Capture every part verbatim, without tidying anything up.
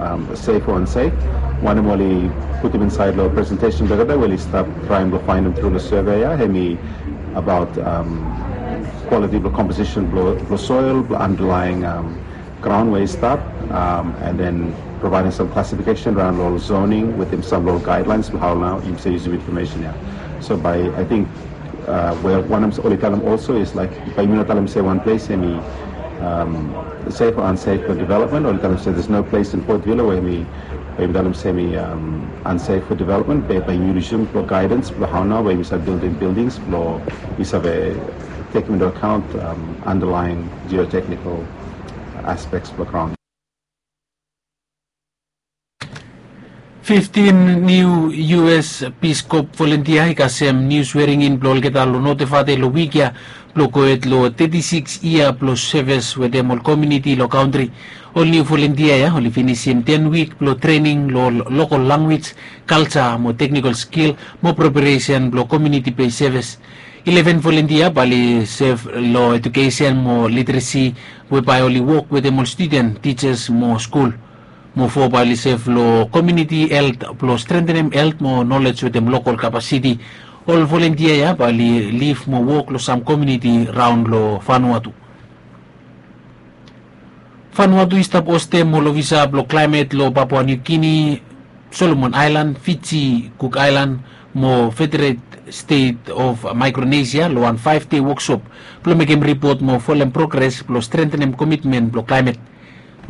um, safe o unsafe. Wanem oli putum insaed long presentesen blong olgeta we oli stap traem blong faenem tru long survey ia, hemi abaot, um, quality blong composition blong, blong soil, blong underlying, um, graon we i stap, um, and then providing some classification around long zoning wetem sam long guidelines blong hao nao yumi save yusum infomesen ia. So bae, I think, uh, we wanem oli talem also is like, bae yumi no talem se wan ples hemi, um, safe o unsafe for development, oli talem se there's no place in Port Vila we hemi, bae yumi talem se hemi, um, unsafe for development, be bae yumi yusum blong guidance blong hao nao we yumi save building buildings blong yumi save tekem into account, um, underlying geotechnical aspects blong graon. Fiftin niu U S Peace Corps volontia i kasem niu sweringin blong olgeta long North Efate long wik ia blong gohed long teti sikis yia blong sevis wetem ol komuniti long kantri. Ol niu volontia ia oli finisim ten wik blong trening long ol lokol lanwis, kalja mo teknikol skil mo preparesen blong komuniti bes sevis. Ileven volontia bae oli sev long ejukesen mo literesi we bae oli wok wetem ol studen, tijas mo skul. Mo fo bae oli sev long komuniti helt blong strengtenem helt mo nolej wetem lokol kapasiti. Ol volontia ia bae oli liv mo wok long sam komuniti raon long Vanuatu. Vanuatu i stap hostem ol ofisa blong klaemet long Papua New Guinea, Solomon Aelan, Fiji, Cook Aelan mo Federated State of Micronesia long wan faef dei woksop blong mekem ripot mo folem progres blong strengtenem komitmen blong klaemet.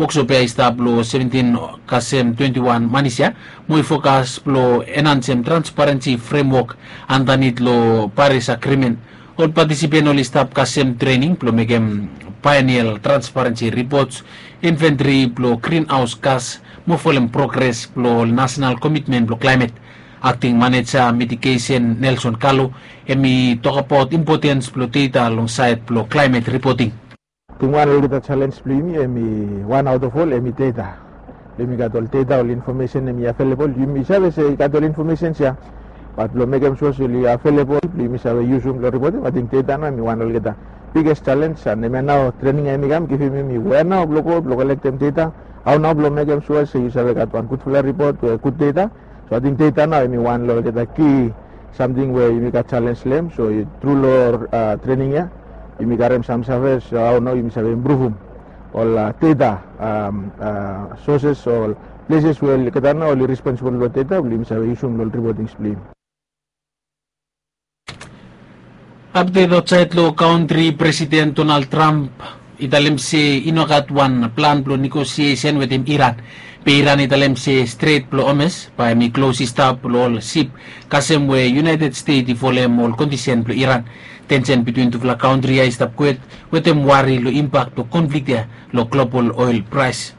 Woksop ia i stap long seventin kasem twenti wan manis ia mo i fokas blong enhansem transparensi fremwok andanit long Paris Agreement. Ol patisipen oli stap kasem trening blong mekem baenial transparensi ripots, inventri blong grinhaos gas mo folem progres blong ol nasenal komitmen blong klaemet. Akting maneja mitigesen Nelson Kalo hemi tokbaot impotens blong deta long saed blong klaemet ripoting. Ating wan olgeta jalenj blong yumi hemi wan aot of ol hemi deta. Blong yumi gat ol deta, ol infomesen hemi avelebol. Yumi save se i gat ol infomesens ia, bat blong mekem sua se oli avelebol blong yumi save yusum long ripoting, ating deta nao hemi wan olgeta biges jalenj. An hemia nao trening ia hemi kam givim yumi wea nao blong go blong kolektem deta, hao nao blong mekem sua se yu save gat wan gudfala ripot we gud deta. So ating deta nao hemi wan long olgeta ki samting we yumi gat jalenj long hem. So tru long, a, trening ia yumi karem sam save, so hao nao yumi save impruvum ol, a, deta, am, a, soses o pleses we olgeta nao oli responsibol long deta blong yumi save yusum long ol ripoting blong yumi. Apdet aotsaed long kantri, Presiden Donald Trump i talem se i no gat wan plan blong negosiesen wetem Iran. Be Iran i talem se Stret blong Hormuz bae hemi klos i stap long ol sip, kasem we United States i folem ol kondisen blong Iran. Tensen bitwin tufala kantri ia i stap gohed wetem wari long impak blong konflik ia long global oel praes.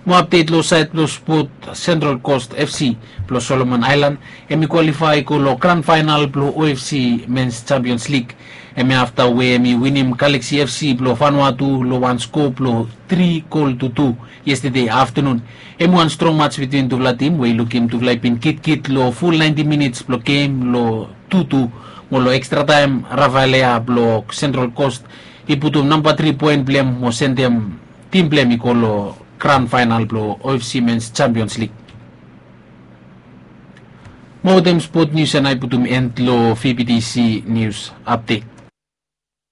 Mo apdet long saed blong spot, Central Coast F C blong Solomon Aelan hemi kwalifae go long gran faenal blong O F C Men's Champions League. Hemia afta we hemi winim Galaxy F C blong Vanuatu long wan skoa blong tri gol tu tu yestede aftanun. Hemi wan strong maj bitwin tufala tim we i lukim tufala i bin kitkit long ful naenti minits blong gem long tu tu, mo long ekstra taem Rafael Lea blong Central Coast i putum namba tri poen blong hem mo sendem tim blong hem i go long gran faenal blong O F C Men's Champions League. Mo wetem spot nius ia nao i putum en long V B T C Nius Apdet.